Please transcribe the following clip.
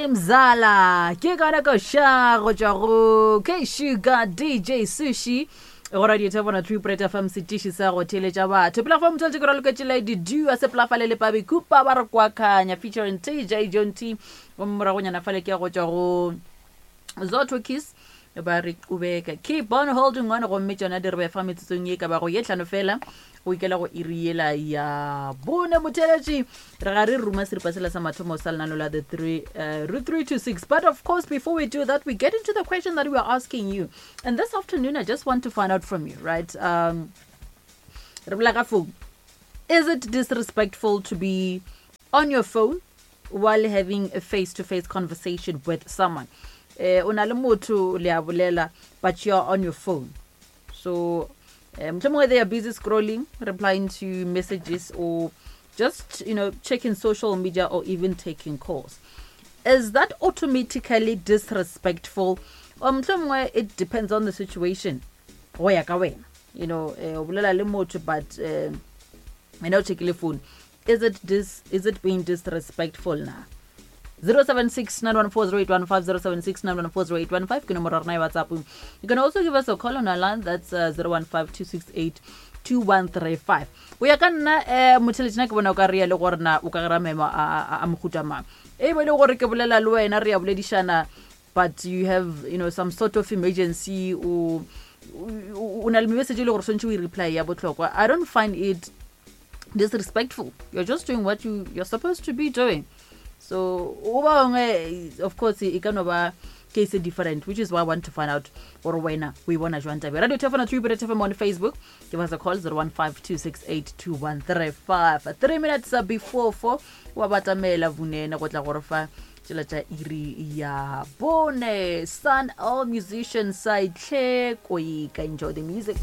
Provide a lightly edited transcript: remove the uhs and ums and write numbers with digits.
Mzala ke gona koša go tšwa go K-Sugar DJ Sushi go radio thebona true pret fm setiši sa go theeletša batho pela fa motho ke raloketše lady dua sepelafale le pabe kupa ba re kwakanya featuring tj john t gomme moragonyana fale ke ya go tšwa go Zotto Kiss ba re qubeka keep on holding on gomme tšona di re befa metsotsong ye ka bago ye tlhano fela go ikela go iri yela ya bone motheletši re ga re ruma seripa sela sa mathomo sa lenano la the 3 uh, route 3 to 6 but of course before we do that we get into the question that we are asking you and this afternoon i just want to find out from you right um re bolela ka phone is it disrespectful to be on your phone while having a face to face conversation with someone eh o na le motho le a bolela but you're on your phone so eh, mohlomongwe they are busy scrolling replying to messages or just you know checking social media or even taking calls is that automatically disrespectful or mohlomongwe it depends on the situation go ya ka wena you know eh, o bolela le motho but eh, wena o checkile phone Is it dis is it being disrespectful na? 076-914-0815, 076-914-0815 ke nomoro ya rena ya WhatsApp. You can also give us a call on our line that's uh, 015-268-2135. O ya ka nna eh motheletšena ke bona o ka rea le gore na o ka gara maemo a a- a mohuta mang. E be le gore ke bolela le wena re ya boledišana but you have you know some sort of emergency o o na le message e le gore swantšhe o e reply ya bohlokwa. I don't find it disrespectful you're just doing what you you're supposed to be doing so o ba bangwe of course e ka no ba case different which is why i want to find out gore wena o e bona jwang tabe radio tefona 3 bit fm on facebook give us a call 0152682135 3 minutes before 4 wa batamela vunene go tla gore fa tsela tša iri ya bone sun all musicians saitlhe koika enjoy the music.